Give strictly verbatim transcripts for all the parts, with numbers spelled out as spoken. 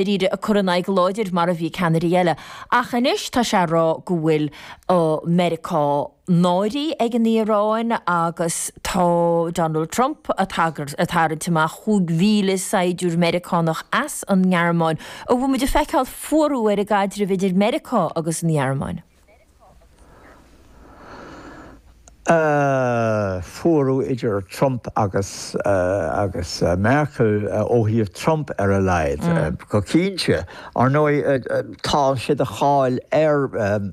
Dáiríre ag cur ina aghaidh go láidir mar a bhí ceannairí eile. Ach anois tá sé ag rá go bhfuil Meiriceá náirithe ag an Iaráin agus tá Donald Trump ag tarraingt amach chúig mhíle saighdiúir Meiriceánach as an nGearmáin. An bhfuil muid ag feiceáil fuarú ar an gcaidreamh idir Meiriceá agus an Ghearmáin? Fuarú idir Trump agus agus Merkel ó thaobh Trump ar a laghad, go cinnte. Ar ndóigh, tá sé de cháil ar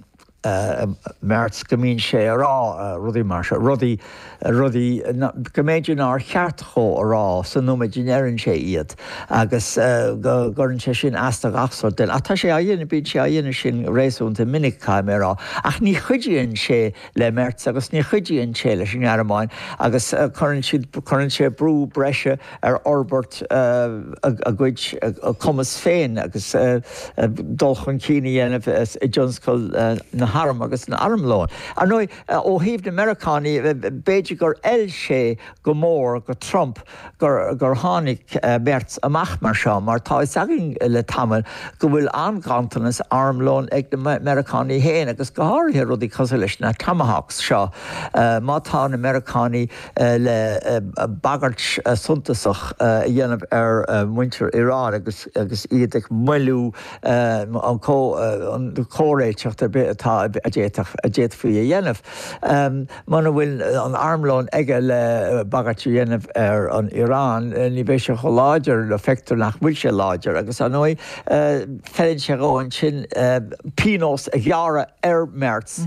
Merz go mbíonn sé ag rá rudaí mar seo, rudaí, rudaí go mb'fhéidir nár cheart dhó a rá sa nóiméad a ndeireann sé iad agus go gcuireann sé sin as do gach sórt duine. Ach tá sé á dhéanamh, bíonn sé á dhéanamh sin réasúnta minic, caithfidh mé a rá. Ach ní chuidíonn sé le Merz agus ní chuidíonn sé leis an nGearmáin agus cuireann siad, cuireann sé brú breise ar fhorbairt a gcuid cumas féin agus dul chun cinn a dhéanamh i dtionscal na n-arm agus na n-armlón. Ar ndóigh, ó thaobh na Meiriceánaigh, b'fhéidir gur fheil sé go mór go Trump gur gur tháinig Merz amach mar seo mar tá fhios againn le tamall go bhfuil an-ghanntanas armlóin ag na Meiriceánaigh féin agus go háirithe rudaí cosúil leis na Tomahawks seo. Má tá na Meiriceánaigh le bagairt suntasach a dhéanamh ar mhuintir Iran agus agus iad ag moilliú an comhréiteacht ar bith atá a d'fhéadfadh a d'fhéadfaí a dhéanamh. Muna bhfuil an armlón aige le bagairt a dhéanamh ar an Iaráin, ní bheidh sé chomh láidir, nó feictear nach bhfuil sé láidir agus ar ndóigh feileann sé dhó ansin pionós a ghearradh ar Merz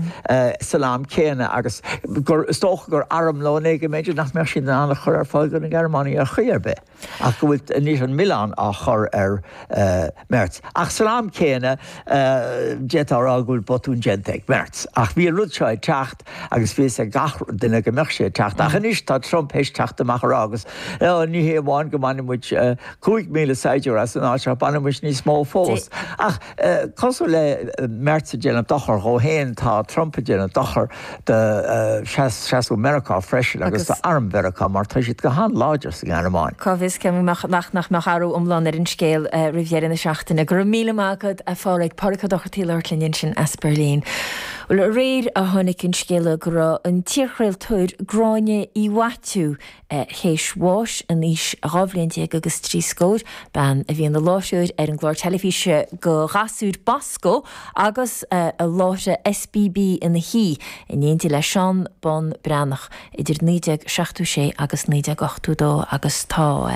san am céanna agus gur is dócha gur armlón é go mb'fhéidir nach mbeadh siad in ann a chur ar fáil do na Gearmánaigh ar chaoi ar bith. Ach go bhfuil anois an milleán á chur ar Merz. Ach san am céanna, d'fhéadfá a rá go bhfuil botún déanta ag Merz. Ach bhí an rud seo ag teacht agus bhí fhios ag gach duine go mbeadh sé ag teacht. Ach anois tá Trump théis teacht amach a rá agus ní hé amháin go mbainfidh muid cúig mhíle saighdiúir as an áit ach bainfidh muid níos mó fós. Ach cosúil le Merz ag déanamh dochar dhó féin, tá Trump ag déanamh dochar do seasamh Mheiriceá freisin agus do arm Mheiriceá mar tá siad go han-láidir sa nGearmáin. Cá bhfios cé nach nach mbeadh athrú iomlán ar an scéal roimh dheireadh na seachtaine. Go raibh míle maith agat, a Phádraig. Pádraig Ó Dochartaigh ag labhairt linn ansin as Beirlín. Bhuel, aréir a tháinig an scéala go raibh an t-iarchraoltóir Gráinne Uí Mhaitiú théis bháis in aois dhá bhliain déag agus trí scór, bean a bhí ina láithreoir ar an gclár teilifíse do ghasúir Bosco agus a láithrigh SBB ina Shuí in éindí le Seán Bán Breathnach idir naoi déag seachtó sé agus naoi déag ochtó dó agus tá